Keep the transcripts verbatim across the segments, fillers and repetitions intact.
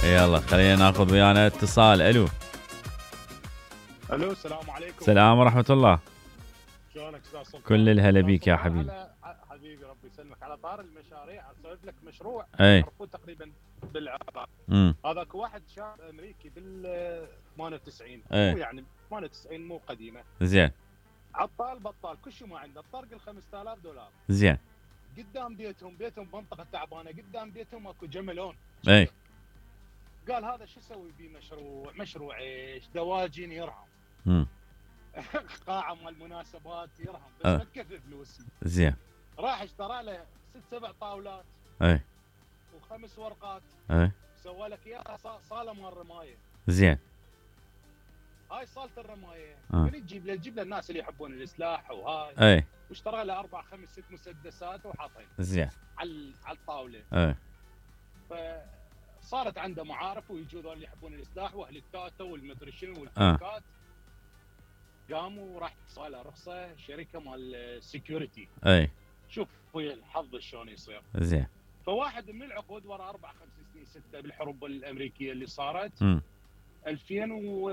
يلا خلينا ناخذ ويانا اتصال. الو الو السلام عليكم. السلام ورحمه الله. شلونك استاذ سلطان؟ كل الهلا بيك يا حبيبي. على حبيبي ربي يسلمك. على طار المشاريع اسولف لك مشروع اي معروف تقريبا بالعراق. امم هذاك واحد شاب امريكي بال ثمانية وتسعين ايه. مو يعني ثمانية وتسعين مو قديمه. زين عطال بطال كل شيء ما عنده. طرق ال خمسة آلاف دولار. زين قدام بيتهم بيتهم بمنطقه تعبانه قدام بيتهم اكو جملون. اي قال هذا شو اسوي بيه مشروع؟ مشروع ايش؟ دواجن يرهم. امم قاعه مال مناسبات يرهم بس أه. ما تكفي فلوس. زين راح اشترى له ست سبع طاولات اي وخمس ورقات. اي سوى لك اياها صاله مال رمايه. زين هاي صاله الرمايه أه. من تجيب له تجيب له الناس اللي يحبون السلاح وهاي. اي واشترى له اربع خمس ست مسدسات وحاطين زين على على الطاوله. اي فصارت عنده معارف ويجوا ذول اللي يحبون السلاح واهل التاتا والمدري شنو والبنكات. قاموا وراح صاله رخصه شركه مال سكيورتي. اي شوف ويا الحظ شلون يصير. زين فواحد من العقود ورا اربع خمس سنين سته بالحروب الامريكيه اللي صارت امم ألفين و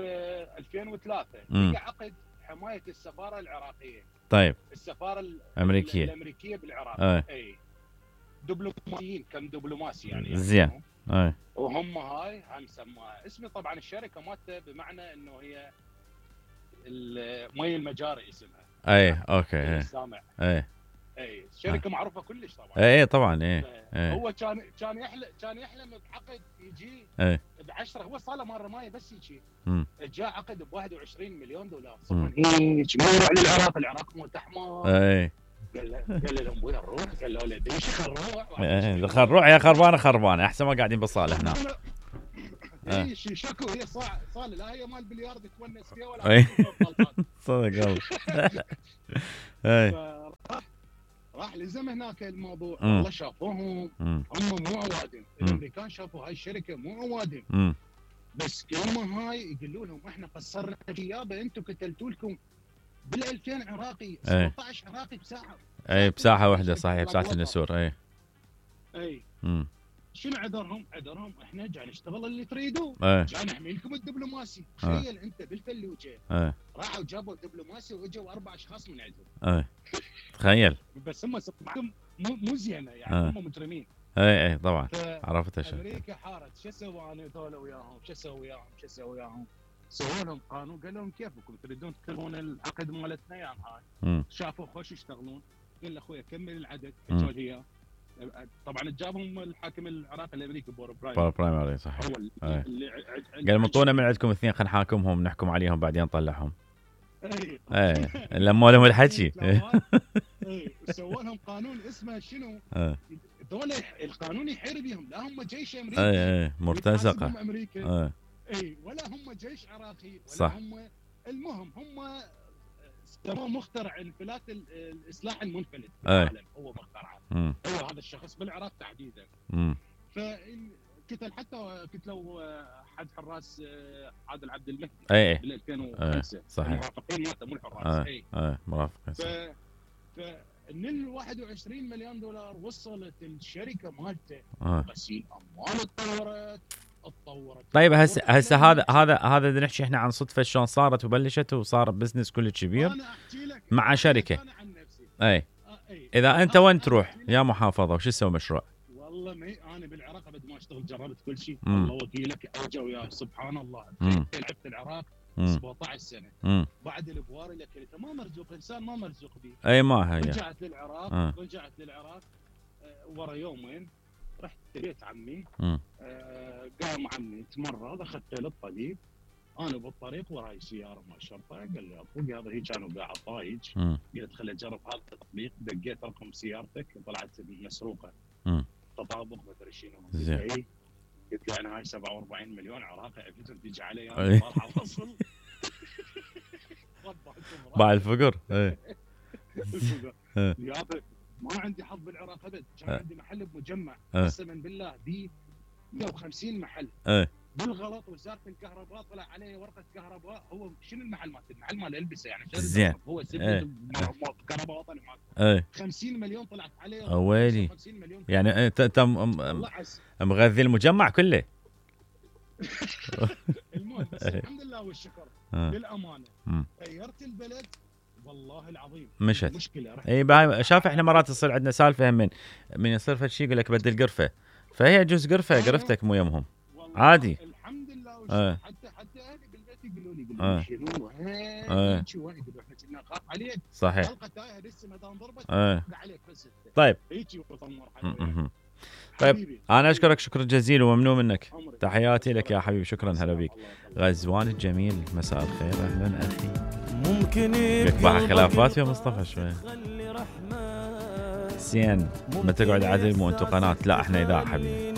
ألفين وثلاثة مم. لقى عقد حمايه السفاره العراقيه. طيب السفاره ال- أمريكية. الامريكيه بالعراق. اي اي دبلوماسيين كم دبلوماسي يعني. زين. يعني اي وهم هاي هم سماها اسمي طبعا الشركه مالته بمعنى انه هي ال- مي المجاري اسمها. اي اوكي اي السامع. اي اي شركه معروفه كلش طبعا. اي طبعا اي اي هو كان كان يحلم كان يحلم بعقد يجي اي ب عشرة. هو صار مال رمايه بس يجي. امم جاء عقد ب واحد وعشرين مليون دولار. مم. صار هيك ما يروح للعراق. العراق مو تحمار. اي قال له قال لهم وين نروح؟ قال له له ليش خروح؟ إيه، خل روح يا خربانه خربانه احسن ما قاعدين بالصاله هنا. اي شي شكو هي صاع صاله لا هي مال بلياردو تونس فيها ولا إيه. غلطات. صدق والله. اي فراح راح لزم هناك الموضوع. مم. والله شافوهم امم هم مو اوادم. مم. الامريكان شافوا هاي الشركه مو اوادم. امم بس كلمه هاي يقولوا لهم احنا قصرنا غيابه انتم قتلتوا لكم بال ألفين عراقي سبعطعش عراقي بساعه. اي بساحه واحده صحيح بساحه النسور. اي اي امم شنو عذرهم؟ عذرهم احنا جاي نشتغل اللي تريدوه. اي جاي نحمي لكم الدبلوماسي. آه. تخيل انت بالفلوجه اي راحوا جابوا دبلوماسي واجوا اربع اشخاص من عندهم. اي تخيل. بس هم سمعتهم مو مو زينه يعني. آه. هم مجرمين. اي اي طبعا عرفت اشوف. امريكا حارت شو اسوي انا ذولا وياهم؟ شو اسوي وياهم؟ شو اسوي وياهم؟ سووا لهم قانون قال لهم كيفكم تريدون تكرهون العقد مالتنا يعني هاي. امم شافوا خوش يشتغلون. قال له اخوي كمل العدد. مم. اجوا هي طبعا جابهم الحاكم العراقي الامريكي بور برايم. بار برايمري صحيح. هو اللي, أي. اللي ع- ع- قال مطونا من عندكم اثنين خلينا نحاكمهم نحكم عليهم بعدين نطلعهم. اي اي لموا لهم الحكي. اي سووا لهم قانون اسمه شنو؟ اي دول القانون يحير بهم. لا هم جيش امريكي اي مرتزقه. يتحاسبهم امريكا. اي اي ولا هم جيش عراقي ولا صح. هم. المهم هم سموه مخترع انفلات ال- السلاح المنفلت في أي. العالم. هو مخترعه. امم هو هذا الشخص بالعراق تحديدا. امم فقتل حتى قتلوا حد حراس عادل عبد المهدي اي اي بال ألفين وخمسة. صحيح. المرافقين مالته مو الحراس. اي اي اي مرافق. ف ف من ال واحد وعشرين مليون دولار وصلت الشركه مالته آه. غسيل اموال. اتطورت اتطورت طيب هسه هسه هذا هذا هذا بدنا نحكي احنا عن صدفه شلون صارت وبلشت وصار بزنس كل كبير أنا أحكي لك مع شركة. أنا عن نفسي. اي آه، أي. اذا انت أنا- وين أنا تروح أحكي لك. يا محافظه وش تسوي مشروع؟ والله ما انا بالعراق ابد ما اشتغل جربت كل شيء. مم. الله وكيلك اجا ويا سبحان الله. مم. لعبت العراق امم سبعطعش سنه. امم بعد البواري لك انت ما مرزوق انسان ما مرزوق به. اي ما هي. رجعت للعراق. آه. رجعت للعراق آه، ورا يومين رحت بيت عمي. امم آه، قام عمي تمرض اخذته للطبيب. انا بالطريق وراي سياره مال الشرطه. قال لي ابوي هذا هيك انا قاعد طايج. امم قلت خليني اجرب هذا التطبيق. دقيت رقم سيارتك طلعت مسروقه. امم تطابق مدري شنو. زين. قلت له إيه؟ قلت له انا هاي سبعة وأربعين مليون عراقي افيتر تجي علي أي. انا طالع فصل. باع الفقر. اي إيه. يابا ما عندي حظ بالعراق ابد. كان إيه. عندي محل بمجمع إيه. قسما بالله بي مئة وخمسين محل. اي بالغلط وزاره الكهرباء طلع عليه ورقه كهرباء. هو شنو المحل مالته؟ المحل مال البسه يعني. زين. هو إيه. سبت كهرباء وطني مالته. اي خمسين مليون طلعت عليه. أويلي. خمسين مليون يعني انت انت م- م- الله عز. مغذي المجمع كله. المهم بس الحمد لله والشكر آه. للامانه مم. غيرت البلد والله العظيم. مشت. مشكله رحت اي باي شاف احنا مرات تصير عندنا سالفه هم من من يصير فد شيء يقول لك بدل قرفه، فهي جزء قرفه قرفتك مو يمهم والله عادي. الحمد لله والشكر. آه. حتى حتى اهلي بالبيت يقولوا لي آه. يقولوا لي شنو آه. هيك شو يقولوا احنا كنا نخاف عليك صحيح. حلقه تايهه لسه ما دام ضربت آه. عليك بس انت. طيب هيك وطمر م- م- طيب انا اشكرك شكر جزيل وممنون منك. عمرك. تحياتي لك يا حبيبي، شكرا هلا السلام بيك. الله يخليك. غزوان الجميل مساء الخير اهلا اخي. ممكن لك بقى خلافات يا مصطفى شوي. سين ما تقعد عدل مو انتو قناه، لا احنا اذاعه حبيبي.